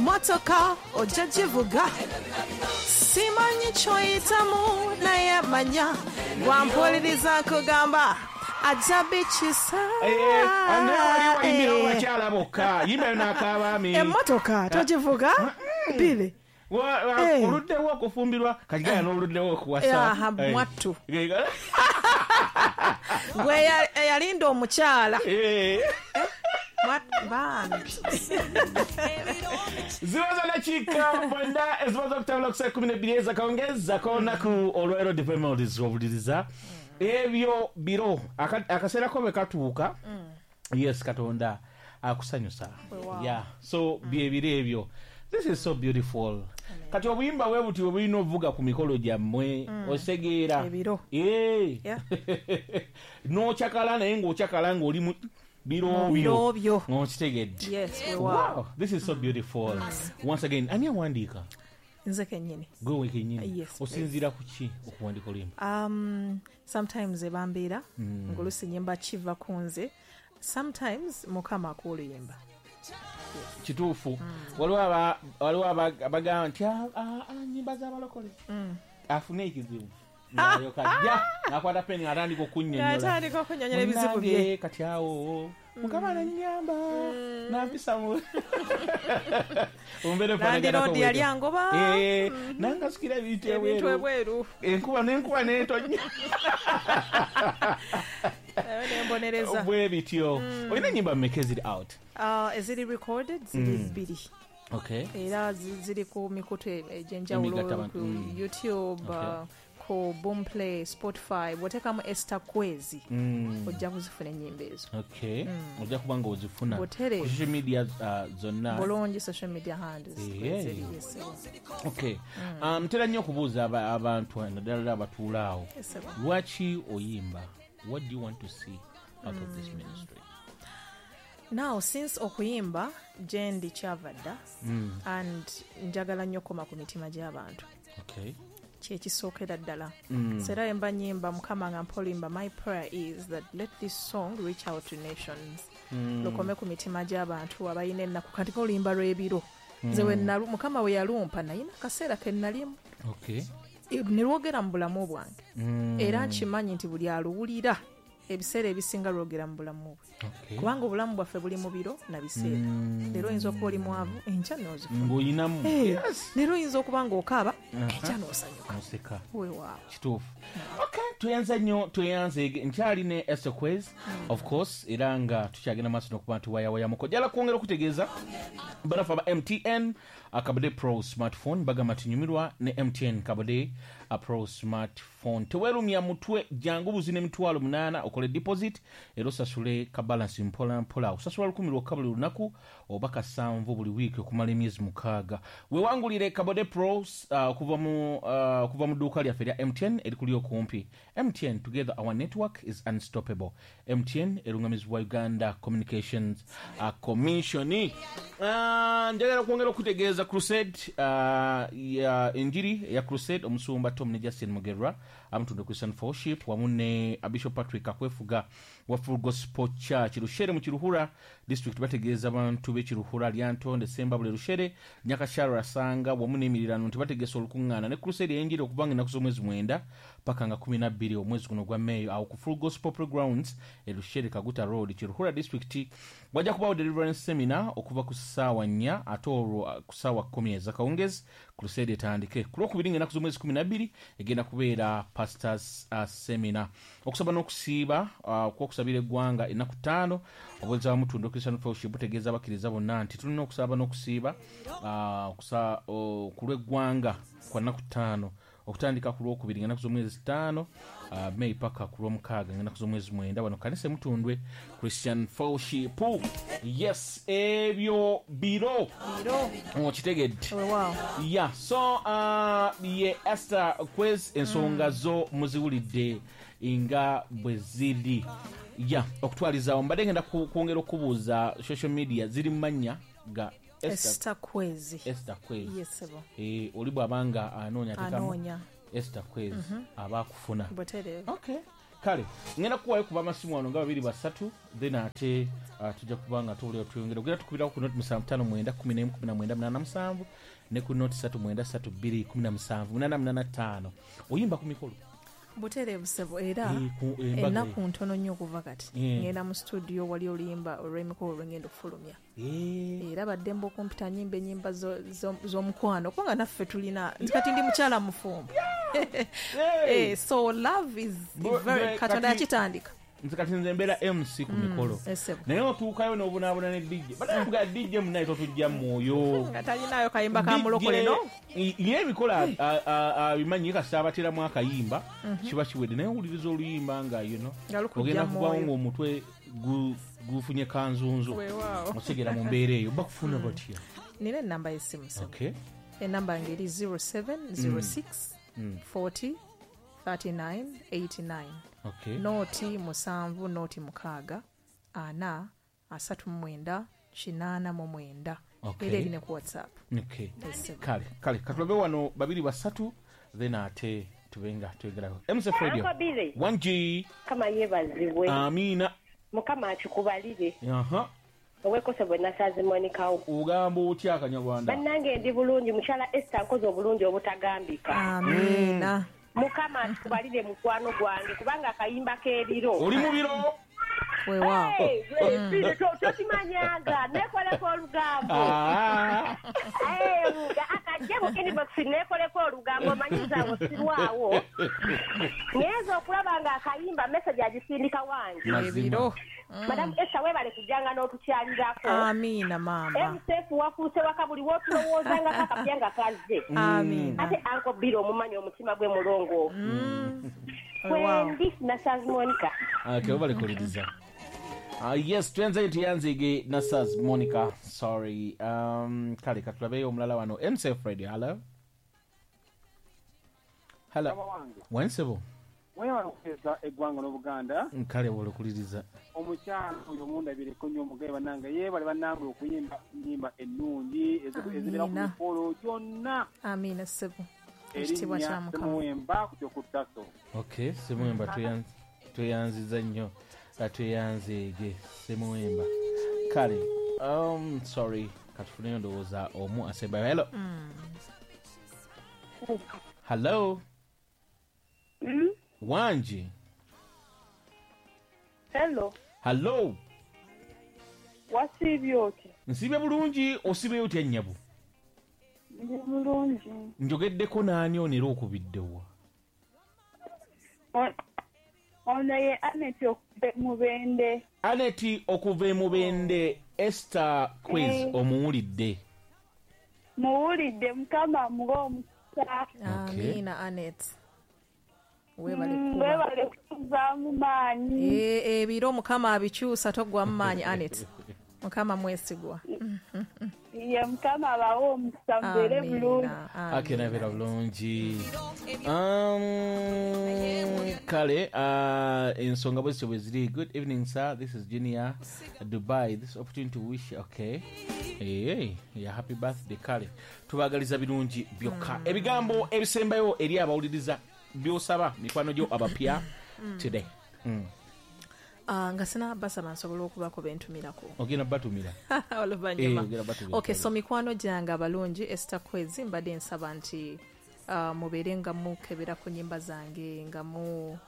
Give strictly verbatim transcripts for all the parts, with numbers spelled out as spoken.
Emmotoka ojja givuga. Simanyi kyoyitamu naye manya gwampuliriza nkugamba ajja bikisa. Eh, ane wali wayimbira bakyala bokka, yimba n'akabaami. Emmotoka togivuga bile. Wa- wa- Eh. Oluddewo okufumbirwa kati gaya n'oluddewo okuwasa. Aha, Eh. mwattu. Eh, Gwe eya- eyalinda omukyala. eh. Mwattu, bambi. Zibaza dakiika mwenda ezimaze okutambula ku saa kumi nebbiri ezakawungezi k'olunaku olwaleero. Development obuliriza ebyo biro. Aka- akaseera ko bwe katuuka, yes, Katonda akusanyusa. Weewaawo. Yeah, so byebiro ebyo. This is so beautiful. Kati obuyimba bwe buti bwe bulina ovuga ku mikolo gyammwe, osegeera? Ebiro. Eh. Yeah. N'okyakala naye ng'okyakala ng'oli mu biro Mu byo. biro byo. Ng'okitegedde? Yes, weewaawo. Wow, this is so beautiful. Once again, ani awandiika? Nze kennyini. Gwe wekennyini? Yes. Osinziira ku ki okuwandiika oluyimba? um, sometimes ebambeera mm. ng'oluusi nyimba kiva ku nze, sometimes Mukama akuwa oluyimba. Kituufu, waliwo aba- waliwo aba- abagamba nti, "Ah, ah, ah, nyimba z'abalokole." Afune ekizibu ng'alyoka ajja n'akwata peni ng'atandika okunnyonnyola. Ng'atandika okunnyonnyola ebizibu bye. Munnange, kati awo Mukama nanyamba nampisa mu mumbeera efaanaganako. Landlord yali angoba. Eh, nangasukira ebintu ebintu ebweru. Ebweru. Enkuba n'enkuba n'etonnya. Nayo nembonereza. Bwe bityo. Olina ennyimba mmeka eziri out? Uh, eziri recorded ziri bbiri. Okay era zi- ziri ku mikutu egy'enjawulo. Emigatta ku mm. YouTube, Okay. uh, ku Boomplay, Spotify. Bw'oteekamu Esther Kwezi Mm. ojja kuzifuna ennyimba ezo. Okay, ojja kuba nga ozifuna Butereevu. ku social media uh, zonna. Bulungi, social media handles Eh. ziri, yes, sir. Okay, um, ntera nnyo okubuuza aba- abantu naddala ddala abatuula awo, Yes, sir. lwaki oyimba? What do you want to see out of this ministry? Now, since okuyimba gye ndi kyava dda and njagala nnyo okukoma ku mitima gy'abantu, okay kyekisookera ddala. So era mba nyimba, Mukama nga mpa oluyimba, my prayer is that let this song reach out to nations, lukome ku mitima gy'abantu abalina ennaku. Kati oluyimba lw'ebiro nze we nalu- Mukama we yalumpa nayina akaseera ke nalimu, okay E, ne lwogera mu bulamu bwange, era nkimanyi nti buli aluwulira ebiseera ebisinga lwogera mu bulamu bwe, okay kubanga obulamu bwaffe buli mu biro na biseera. Leero oyinza okuba oli mwavu, enkya n'ozifuna. Ng'oyinamu. Eh, yes leero oyinza okuba ng'okaaba, enkya n'osanyuka. Oseka. Weewaawo. Kituufu. Okay, tweyanza nnyo, tweyanze. Nkyali ne Esther Kwezi, of course, era nga tukyagenda maaso n'okuba nti wayawayamuko. Jala kwongera okutegeeza banafe aba M T N Kabode Pro smartphone, bagamba tinyumirwa ne M T N Kabode uh, Pro smartphone. Teweerumya mutwe, jangu buzi n'emitwalo munaana okole deposit era osasule ka balance mpola mpola. Osasula lukumi lwokka buli lunaku oba kasanvu buli wiiki okumala emyezi mukaaga. Wewangulire Kabode Pro uh, okuva mu uh, okuva mu dduuka lyaffe erya M T N erikuli okumpi. M T N, together our network is unstoppable. M T N erungamizibwa Uganda Communications uh, Commission. uh, njagala kwongera okutegeeza crusade uh, ya enjiri eya crusade, omusumba Tom ne Justin Mugerwa amutunde Christian Fellowship wamu ne Bishop Patrick Akwefuga wa Full Gospel Church Rushere mu Kiruhura District bategeeza abantu b'Ekiruhura, Lyantonde, Sembabule, Rushere, Nyakasharo, Rasanga wamu n'emirirano nti bategesa olukuŋŋaana ne crusade ey'enjiri okuvanga ennaku z'omwezi mwenda paka nga kumi na bbiri omwezi guno gwa Meeyo awo ku Full Gospel Grounds e Rushere, Kaguta Road, Kiruhura District. Wajja kubaawo deliverance seminar okuva ku ssaawa nnya ate olwo uh, ku ssaawa kkumi ezakawungezi crusade etandike. Ku lwokubiri ng'ennaku z'omwezi kumi na bbiri egenda kubeera pastors uh, seminar, okusaba n'okusiiba uh, okwokusabira eggwanga ennaku ttaano. Obuweereza bwa Mutundo Christian Fellowship butegeeza abakkiriza bonna nti tulina okusaba n'okusiiba uh, okusa- o- ku lw'eggwanga kwa nnaku ttaano okutandika ku lwokubiri ng'ennaku z'omwezi ttaano uh, May paka ku lwomukaaga ng'ennaku z'omwezi mwenda wano kanisa Emutundwe Christian Fellowship. Yes, ebyo biro. Biro. Okitegedde? Weewaawo. Ya, so uh, ye Esther Kwezi, ensonga zo muziwulidde nga bwe ziri. Ya, okutwalizaawo mbadde ngenda ku- kwongera okubuuza, social media ziri mu mannya ga Esther? Esther Kwezi. Esther Kwezi. Yes, sebo. Eh, oli bw'abanga anoonya atekamu anoonya Esther Kwezi aba akufuna. Butereevu. Okay. Kale ngenda kuwayo kuba amasimu wano nga babiri basatu, then ate uh, tujja kuba nga tuwulira tweyongera. Ogenda tukubirako ku noti musanvu ttaano mwenda kumi n'emu kumi na mwenda munaana musanvu ne ku noti ssatu mwenda ssatu bbiri kumi na musanvu munaana munaana ttaano. Oyimba ku mikolo butereevu ssebo, era Eh, ku- embaga ennaku ntono nnyo okuva kati Eh. ngenda mu studio, wali oluyimba olw'emikolo lwengenda okufulumya. Eh, Era baddembe okumpita nyimba ennyimba zo- zo- z'omukwano, kubanga naffe tulina nti kati ndi mukyala mufumbo. Hey! Eh, so love is Bo- very be- Katonda kati- yakitandika. Nze kati nze mbeera M C ku mikolo, Eh, ssebo. Naye otuukayo n'obunaabuna ne D J, banaga D J munaye totujja mwoyo. Nga talinayo kayimba ka mulokole no. Ye emikolo abimanyi, kasita abateramu akayimba kiba kiwedde, naye owuliriza oluyimba nga you know, Nga lukujja ogenda kuvawo mwoyo. ng'omutwe gu- gufunye kanzunzu. Weewaawo. Otegera mu mbeera eyo bakufuna batya? Nina enamba y'essimu ssebo. Okay. Enamba yange eri zero seven zero six forty thirty-nine eighty-nine. Okay. Nooti musanvu nooti mukaaga ana asatu mu mwenda kinaana mu mwenda. Okay. Era eri ne ku WhatsApp. Okay. Ssebo. Kale kale katulabe wano babiri basatu, then ate tube nga twegerako. M C F Radio. Uncle Billy. one G. Mukama yeebazibwe. Amiina. Mukama akikubalire. Aha. Owekose bwe Nasazi Monikawo. Ogamba otya akanyarwanda? Bannange, ndi bulungi. Mukyala Esther, nkoze obulungi obutagambika. Amiina. Mukama akikubalire, mukwano gwange, kubanga akayimba k'ebiro. Oli mu biro. Weewaawo. Hey, Billy, to- tokimanyanga nekoleko olugambo. Ah. Eh, akajje mu inbox nekoleko olugambo, omanyizawo sirwawo ngenza okulaba nga akayimba message agisindika wange. Mazima. Ebiro. Madamu Esther, webale kujjanga n'otukyalirako. Amiina maama. M C F wafuuse waka, buli wotulowoozangako akapya nga kazze. Amiina. Ate Uncle Bill omumanyi, omutima gwe mulongoofu. Weewaawo. Kwendi Nasazi Monica. Okay, webale kuwuliriza. Uh, yes, twenze tuyanzige Nasaz Monica. Sorry. Um, kale katulabeyo omulala wano. M C F Radio. Hello. Hello. Mukama wange. Wensebo. Mwebale okuteesa eggwanga n'Obuganda. Kale wolokuliriza. Omukyala oyo mundabireko nnyo, omugaye bannange, yeebale bannange okuyimba ennyimba ennungi ezi- ezibeera ku Amiina. mikolo gyonna. Amiina ssebo, ekitiibwa Erinnya kya Mukama. Semuwemba ku kyokuttaso. Okay, Semuwemba, tweyanz- tweyanziza nnyo. Uh, tweyanzeege Semuwemba. Kale, um, sorry, katufuneyo ndowooza omu asembayo. Hello. Hello. Wangi. Hello. Hello. Wasiibye otya? Nsiibye bulungi, osiibyeyo otya nnyabo? Ndi bulungi. Njogeddeko naani ono era okubiddewa? O- Ono ye Anet okuva Mubende. Aneti okuva e Mubende, Esther Quiz. Eh. Omuwulidde? Muwulidde, Mukama amuwe omukisa. Amiina Anet, weebale Mm, kuba. Weebale kutuzaamu maanyi. Eh, ebiro Mukama abikyusa, toggwamu maanyi Anet, Mukama mwesigwa. Ye Mukama abawe omukisa, mubeere bulungi. Amiina. Ake nabeera bulungi. Um, kale uh, ensonga bwe zityo bwe ziri. Good evening sir, this is Junior Dubai, this opportunity to wish, okay, hey, yeah, happy birthday. Kale tubagaliza birungi byokka. Ebigambo ebisembayo eri abawuliriza byosaba mikwano gyo abapya today mm. Ah, nga sina basaba, nsobola okubako bentumirako? Ogenda batumira. Oluvannyuma. Eh, ogenda batumira. Okay, so mikwano gyange abalungi, Esther Kwezi, mbadde nsaba nti uh, mubeere nga mukebera ku nyimba zange, nga mu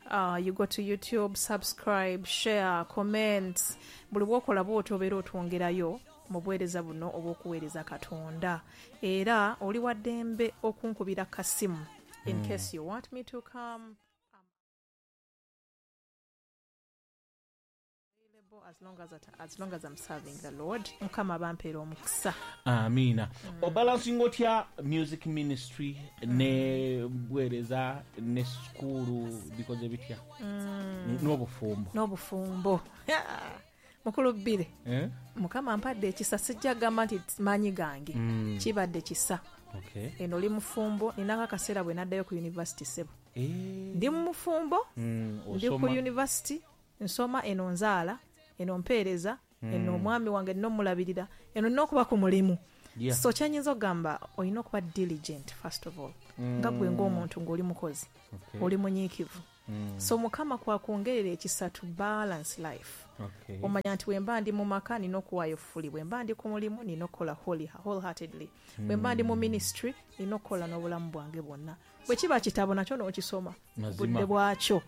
Uh, you go to YouTube, subscribe, share, comment. Buli bwokola bwotyo obeera otwongerayo mu buweereza buno obw'okuweereza Katonda. Era oli wa ddembe okunkubira kasimu in case you want me to come available, as long as, as long as I'm serving the Lord. Mukama bampeera omukisa. Amiina. Obalansinga otya music ministry ne buweereza ne sukuulu, bikoze bitya n'obufumbo? N'obufumbo, mukulu bbiri. Eh? Mukama mpadde ekisa, sijja gamba nti maanyi gange, kibadde kisa. Okay. Eno oli mufumbo, ninako akaseera bwe naddayo ku university sebo. Eh, Ndi mufumbo, mm, ndi ku osoma. university nsoma, eno nzaala, eno mpeereza, eno omwami wange nina omulabirira, eno nina okuba ku mulimu. Yeah. So kyanyinza okugamba, olina okuba diligent first of all, nga gwe ng'omuntu ng'oli mukozi, Okay. oli munyiikivu. So Mukama kwakwongerera ekisa to balance life. Okay. Omanya nti bwe ndi mu maka nina okuwaayo fully, bwe mba ndi ku mulimu nina okukola wholly, wholeheartedly, bwe mba ndi mu ministry nina okukola n'obulamu bwange bwonna. Bwe kiba kitabo nakyo n'okisoma Mazima. Budde bwakyo.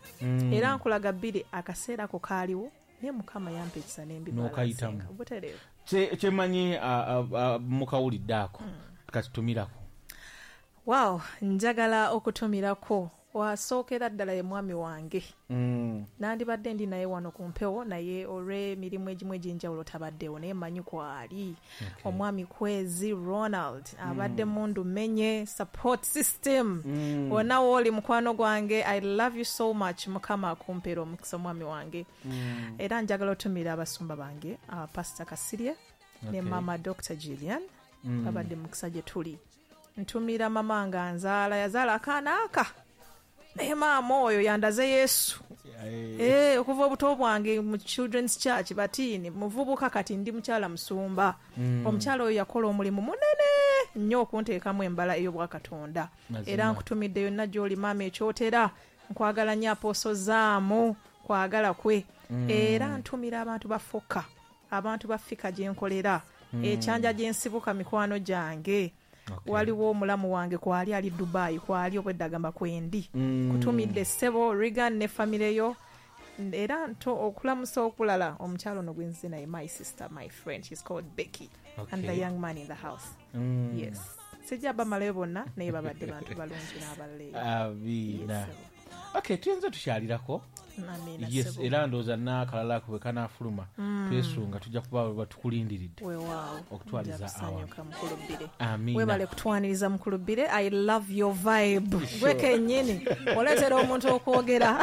Era nkulaga bbiri akaseera ako kaaliwo, naye Mukama yampa ekisa N'okayitamu. Nembibalansinga butereevu. Kye- kyemanyi ah, ah, ah, mukawulidde ako katutumirako. Wow, njagala okutumirako wasookera ddala ye mwami wange. Mm. Nandibadde ndi naye wano ku mpewo, naye olw'emirimu egimu egy'enjawulo tabaddewo, naye mmanyi kwali. Omwami Kwezi Ronald abadde mundu menye support system wonna wooli, mukwano gwange, I love you so much. Mukama akumpeera omukisa, omwami wange. Era njagala otumira abasumba bange, uh, Pastor Kasirye ne Okay. mama Doctor Gillian, babadde mukisa gye tuli. Ntumira mama nga nzaala, yazaala akaana aka, naye maama oyo yandaze Yesu. Eh, okuva obuto bwange mu Children's Church batiini muvubuka, kati ndi mukyala musumba. Omukyala oyo yakola omulimu munene nnyo okunteekamu embala ey'obwakatonda. Mazima. Era nkutumidde yonna gy'oli, maama ekyotera, nkwagala nnyo, Apostle Zaamu kwagala kwe. Era ntumira abantu ba Foka, abantu ba Fika gye nkolera, ekyanja gye nsibuka, mikwano gyange. Okay. Waliwo omulamu wange kwali ali Dubai, kwali obwedda agamba kwendi. Mm. Kutumidde ssebo Regan ne famire yo. Era nto okulamusa okulala omukyalo ono gwenzize naye, my sister, my friend, she's called Becky, and the Okay. young man in the house. Mm. Yes, sijja bamalayo bonna, naye babadde bantu balungi n'abalala eyo. Amiina. Yes, Okay, tuyinza tukyalirako. Amiina, Yes. ssebo. Era ndowooza n'akalala ako bwe kanaafuluma twesunga tujja kuba batukulindiridde Weewaawo. okutwaliza Nja kusanyuka, mukulu Bbire. Amiina. Webale kutwaniriza, mukulu Bbire. I love your vibe. Gwe kennyini oleetera omuntu okwogera.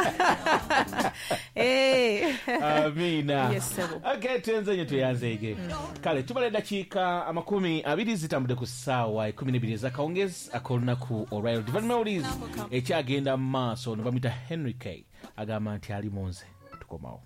Eh. Amiina. Yes, ssebo. Okay, tuyenze nnyo, tweyanzeege. Kale tubala eddakiika amakumi abiri zitambudde ku ssaawa ekumi n'ebiri ez'akawungezi ak'olunaku olwaleero. Divine Melodies ekyagenda mu maaso, ne bamuyita Henry K, agamba nti ali mu nze. Tukomawo.